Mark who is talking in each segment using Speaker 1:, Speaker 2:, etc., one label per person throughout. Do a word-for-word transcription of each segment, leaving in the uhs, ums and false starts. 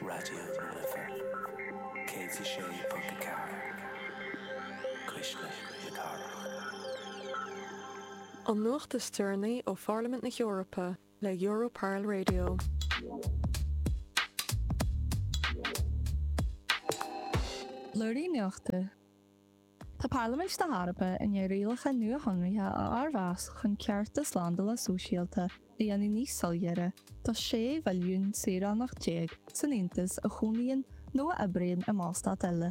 Speaker 1: Raidió na Life céad a sé ponc a ceathair Cuisle na Cathrach.
Speaker 2: An nuacht is deireanaí ó Pharlaimint na hEorpa le Europarl Radio.
Speaker 3: Blúirí Nuachta Tá Parlaimint na hEorpa i ndiaidh rialacha nuashonraithe a fhormheas chun cearta slándála sóisialta a dhéanamh níos soiléire do sé mhilliún saoránach déag san Aontas a chónaíonn nó a oibríonn i mballstát eile.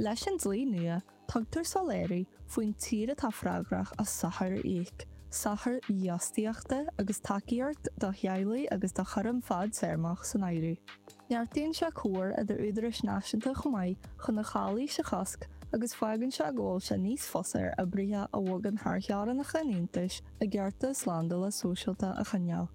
Speaker 3: Leis an dlí nua, tugtar soiléiriú faoin tír atá freagrach as sochair a íoc, sochair dhífhostaíochta agus tacaíocht do theaghlaigh agus do chúram fadtéarmach san áireamh. Neartaíonn sé comhar idir údaráis náisiúnta chomh maith chun an chalaois a chosc agus fágann sé go bhfuil sé níos fusa ar oibrithe a bhogann thar theorainneacha an Aontais a gcearta slándála sóisialta a choinneáil.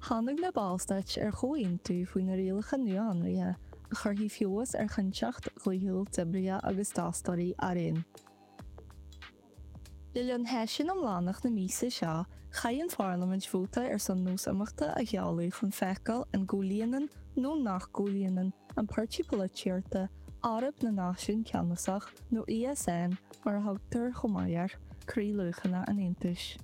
Speaker 3: Tháinig na Ballstáit ar chomhaontú faoi na rialacha nuashonraithe a chuirfidh feabhas ar chinnteacht dhlíthiúil d'oibrithe agus d'fhostóirí araon. Le linn sheisiún iomlánach na míosa seo, chaith an Pharlaimint vóta ar son nós imeachta a sheoladh chun feiceáil an gcomhlíonann nó nach gcomhlíonann an páirtí polaitíochta Eoraip na Náisiún Ceannasach, nó ESN mar a thugtar chomh maith air, croíluachanna an Aontais.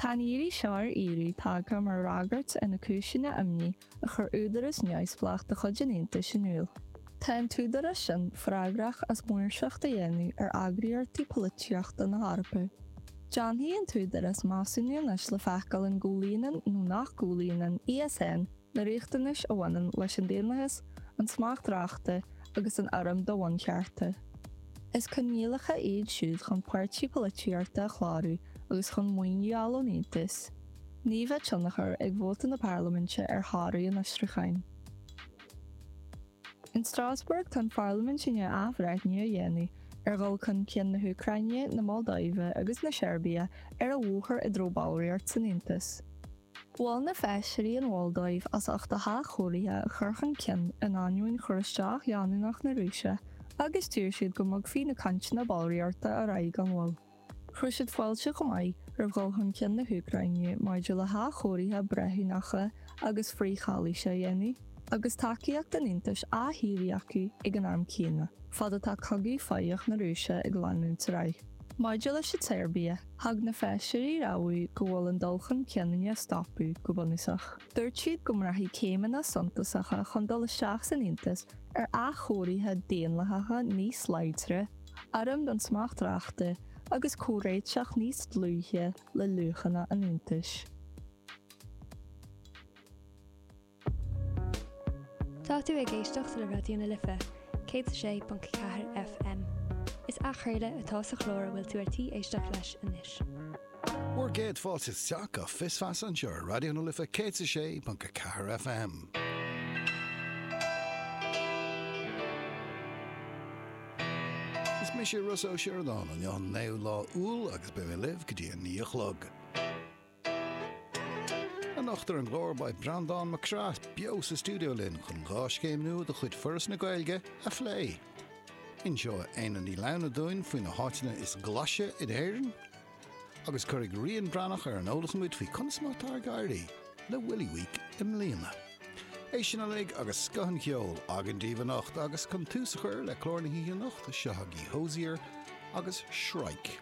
Speaker 3: Tá an iarraidh seo ar fhíorú tagtha mar fhreagairt ar na cúiseanna imní a chuir údarás neamhspleách de chuid an Aontais in iúl. Tá an t-údarás sin freagrach as maoirseacht a dhéanamh ar eagraíochtaí polaitíochta na hEorpa. Déanfaidh an t-údarás measúnú anois le feiceáil an gcomhlíonann nó nach gcomhlíonann ESN na riachtanais a bhaineann leis an daonlathas, an smacht reachta agus an urraim do bhunchearta. Is coinníollacha iad siúd chun páirtí polaitíochta a chlárú agus chun maoiniú a fháil ón Aontas. Ní bheidh tionchar ag vóta na Parlaiminte ar thoradh an fhiosrúcháin. In Strasbourg, tá an Pharlaimint i ndiaidh athbhreithniú a dhéanamh ar dhul chun cinn na hÚcráine, na Moldóive agus na Seirbia ar a bhóthar i dtreo ballraíocht san Aontas. Mhol na feisirí an Mholdóiv as ucht a hathchóirithe a chur chun cinn in ainneoin chur isteach leanúnach na Rúise agus d'iarr siad go mbogfaí na cainteanna ballraíochta ar aghaidh gan mhoill. Chuir siad fáilte chomh maith roimh dhul chun cinn na hÚcráine maidir le hathchóirithe breithiúnacha agus frith-chalaoise a dhéanamh, agus tacaíocht an Aontais á hiarraidh acu ag an am céanna, fad atá cogadh foghach na Rúise ag leanúint ar aghaidh. Maidir leis an tSeirbia, thug na feisirí rabhadh go bhfuil an dul chun cinn i ndiaidh stopadh, go bunúsach. Dúirt siad go mbraithfidh céimeanna suntasacha chun dul isteach san Aontas ar athchóirithe daonlathacha níos láidre, urraim don smacht reachta agus comhréiteach níos dlúithe le luachanna an Aontais.
Speaker 4: Tá tú ag éisteacht le Raidió na Life, céad a sé ponc ceathair FM. Is athchraoladh atá sa chlár a bhfuil tú ar tí éisteacht leis anois.
Speaker 5: Bhur gcéad fáilte isteach go Fios Feasa anseo ar Raidió na Life céad a sé ponc a ceathair FM. Is mise Rossa Ó Sioradáin, inniu an naoú lá Iúil agus beidh mé libh go dtí a naoi a chlog. Anocht ar an gclár beidh Breandán Mac Craith beo sa stiúideo linn chun dhá scéim nua de chuid Foras na Gaeilge a phlé. Inseoidh Éanna Ní Lamhna dúinn faoi na háiteanna is glaise in Éirinn agus cuirfidh Rían Breathnach ar an eolas muid faoi conas mar atá ag éirí le Willy Week i mbliana. É sin uilig agus scoth an cheoil againn daoibh anocht agus chun tús a chur le clár na hoíche anocht, seo agaibh Hozier agus Shrike.